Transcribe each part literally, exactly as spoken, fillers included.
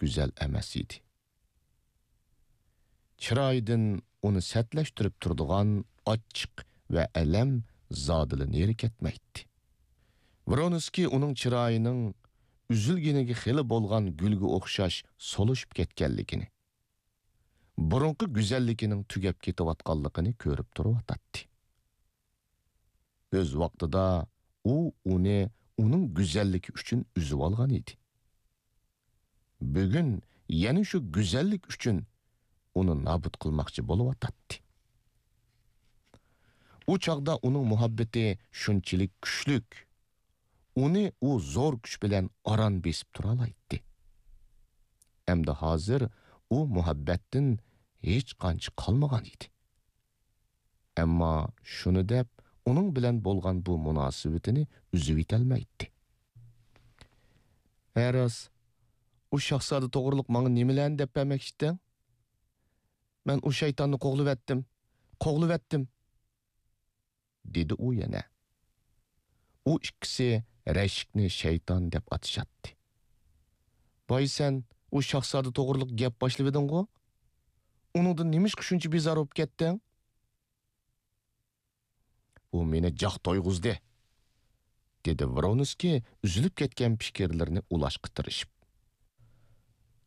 گۈزەل ئەمەس ئىدى. چىرايىدىن ئۇنى سەتلەشتۈرۈپ تۇرىدىغان ئاچچىق ۋە ئەلەم زادىلا نېرى كەتمەيتتى. ۋرونسكىي ئۇنىڭ چىرايىنىڭ ئۈزۈلگىنىگە خېلى بولغان گۈلگە ئوخشاش سولۇشۇپ كەتكەنلىكىنى، بۇرۇنقى گۈزەللىكىنىڭ تۈگەپ كېتىۋاتقانلىقىنى كۆرۈپ تۇرۇۋاتاتتى. ئۆز ۋاقتىدا ئۇ ئۇنى ئۇنىڭ گۈزەللىكى ئۈچۈن ئۈزۈۋالغان ئىدى. بۈگۈن يەنە شۇ گۈزەللىك ئۈچۈن ئۇنى نابۇت قىلماقچى بولۇۋاتاتتى. ئۇ چاغدا ئۇنىڭ مۇھەببىتى شۇنچىلىك كۈچلۈك، ئۇنى ئۇ زور كۈچ بىلەن ئاران بېسىپ تۇرالايتتى. ئەمدى ھازىر ئۇ مۇھەببەتتىن ھېچقانچە قالمىغان ئىدى. ئەمما شۇنى دەپ، ئۇنىڭ بىلەن بولغان بۇ مۇناسىۋىتىنى ئۈزۈۋېتەلمەيتتى. ھە راست، ئۇ شاھزادە توغرۇلۇق ماڭا نېمىلەرنى دەپ بەرمەكچىتىڭ؟ مەن ئۇ شەيتاننى قوغلىۋەتتىم، قوغلىۋەتتىم، دېدى ئۇ يەنە. ئۇ ئىككىسى رەشكنى شەيتان دەپ ئاتىشاتتى. باي سەن ئۇ شاھزادە توغرۇلۇق گەپ باشلىۋىدىڭغۇ؟ ئۇنىڭدىن نېمىشقا شۇنچە بىزار بولۇپ كەتتىڭ؟ ئۇ مېنى جاق تويغۇزدى، دېدى ۋرونسكىي ئۈزۈلۈپ كەتكەن پىكىرلىرىنى ئۇلاشقا تىرىشىپ.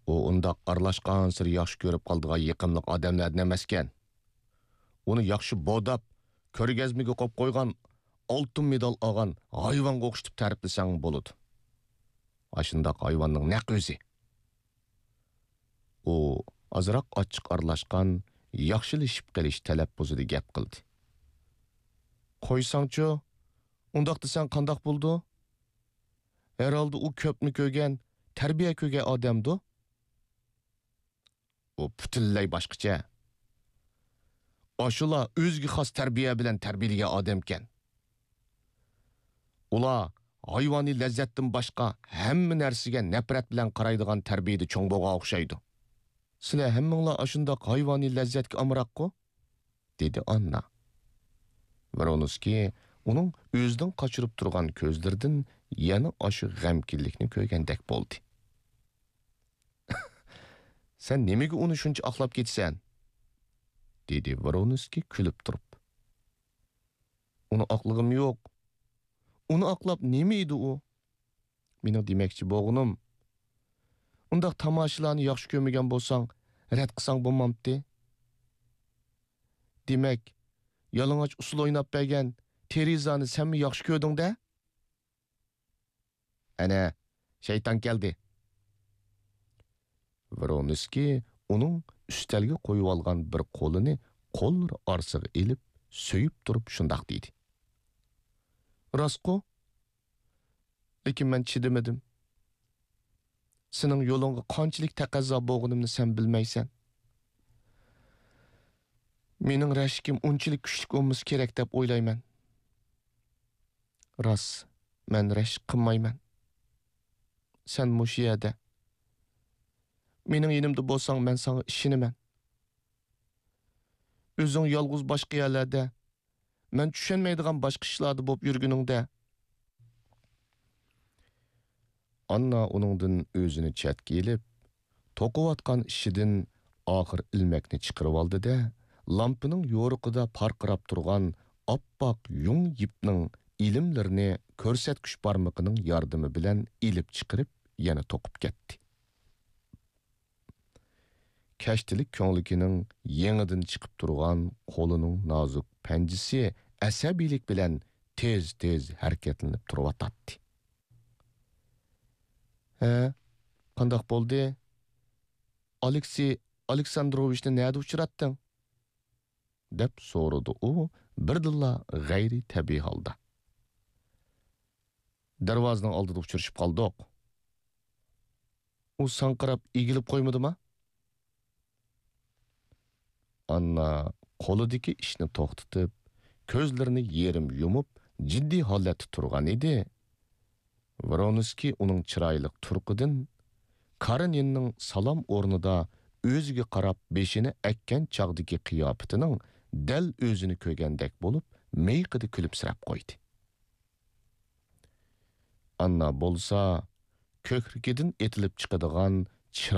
ئۇ ئۇنداق ئارىلاشقانسېرى ياخشى كۆرۈپ قالىدىغان يېقىملىق ئادەملەردىن ئەمەسكەن. ئۇنى ياخشى بوداپ، كۆرگەزمىگە قويۇپ قويغان، ئالتۇن مېدال ئالغان ھايۋانغا ئوخشىتىپ تەرىپلىسەڭ بولىدۇ. ئاشۇنداق ھايۋاننىڭ نەق ئۆزى. ئۇ ئازراق ئاچچىق ئارىلاشقان، ياخشىلىشىپ قېلىش تەلەپپۇزىدا گەپ قىلدى. قويساڭچۇ، ئۇنداق دېسەڭ قانداق بولىدۇ؟ ھەرھالدا ئۇ كۆپنى كۆرگەن، تەربىيە كۆرگەن ئادەمدۇ؟ ئۇ پۈتۈنلەي باشقىچە. ئاشۇلار ئۆزىگە خاس تەربىيە بىلەن تەربىيەلىگەن ئادەمكەن. ئۇلار ھايۋانىي لەززەتتىن باشقا ھەممە نەرسىگە نەپرەت بىلەن قارايدىغان تەربىيىدە چوڭ بولغان ئوخشايدۇ. سىلەر ھەممىڭلار ئاشۇنداق ھايۋانىي لەززەتكە ئامراققۇ؟ دېدى ئاننا. ۋرونسكىي ئۇنىڭ ئۆزىدىن قاچۇرۇپ تۇرغان كۆزلىرىدىن يەنە ئاشۇ غەمكىنلىكنى كۆرگەندەك بولدى. سەن نېمىگە ئۇنى شۇنچە ئاقلاپ كېتىسەن؟ دېدى ۋرونسكىي كۈلۈپ تۇرۇپ. ئۇنى ئاقلىغۇم يوق. ئۇنى ئاقلاپ نېمە ئىدى ئۇ؟ مېنىڭ دېمەكچى بولغىنىم، ئۇنداق تاماشىلارنى ياخشى كۆرمىگەن بولساڭ، رەت قىلساڭ بولمامتى؟ دېمەك، يالىڭاچ ئۇسسۇل ئويناپ بەرگەن تېرېزانى سەنمۇ ياخشى كۆردۈڭ-دە؟ ئەنە، شەيتان كەلدى. ۋرونسكىي ئۇنىڭ ئۈستەلگە قويۇۋالغان بىر قولىنى قوللىرى ئارىسىغا ئېلىپ، سۆيۈپ تۇرۇپ شۇنداق دېدى. راستقۇ؟ لېكىن مەن چىدىمىدىم. سېنىڭ يولۇڭغا قانچىلىك تەقەززا بولغىنىمنى سەن بىلمەيسەن. مېنىڭ رەشكىم ئۇنچىلىك كۈچلۈك بولمىسا كېرەك دەپ ئويلايمەن. راست، مەن رەشك قىلمايمەن. سەن مۇشۇ يەردە. مېنىڭ يېنىمدا بولساڭ، مەن ساڭا ئىشىنىمەن. ئۆزۈڭ يالغۇز باشقا يەرلەردە، مەن چۈشەنمەيدىغان باشقا ئىشلاردا بولۇپ يۈرگىنىڭدە. ئاننا ئۇنىڭدىن ئۆزىنى چەتكە ئېلىپ، توقۇۋاتقان ئىشىدىن ئاخىر ئىلمەكنى چىقىرىۋالدى-دە، لامپىنىڭ يورۇقىدا پارقىراپ تۇرغان ئاپئاق يۇڭ يىپنىڭ ئىلىملىرىنى كۆرسەتكۈچ بارمىقىنىڭ ياردىمى بىلەن ئېلىپ چىقىرىپ، يەنە توقۇپ كەتتى. كەشتىلىك كۆڭلىكىنىڭ يېڭىدىن چىقىپ تۇرغان قولىنىڭ نازۇك پەنجىسى ئەسەبىيلىك بىلەن تېز-تېز ھەرىكەتلىنىپ تۇرۇۋاتاتتى. ھە، قانداق بولدى؟ ئالېكسىي ئالېكساندروۋىچنى نەدە ئۇچراتتىڭ؟ دەپ سورىدى ئۇ بىردىنلا غەيرىي تەبىئىي ھالدا. دەرۋازىنىڭ ئالدىدا ئۇچرىشىپ قالدۇق. ئۇ ساڭقىراپ ئېگىلىپ قويمىدىما؟ ئاننا قولىدىكى ئىشنى توختىتىپ، كۆزلىرىنى يېرىم يۇمۇپ، جىددىي ھالەتتە تۇرغان ئىدى. ۋرونسكىي ئۇنىڭ چىرايلىق تۇرقىدىن، كارېنىننىڭ سالام ئورنىدا ئۆزىگە قاراپ بېشىنى ئەگكەن چاغدىكى قىياپىتىنىڭ دەل ئۆزىنى كۆرگەندەك بولۇپ، مىيىقىدا كۈلۈمسىرەپ قويدى. ئاننا بولسا، كۆكرىكىدىن ئېتىلىپ چىقىدىغان چىراي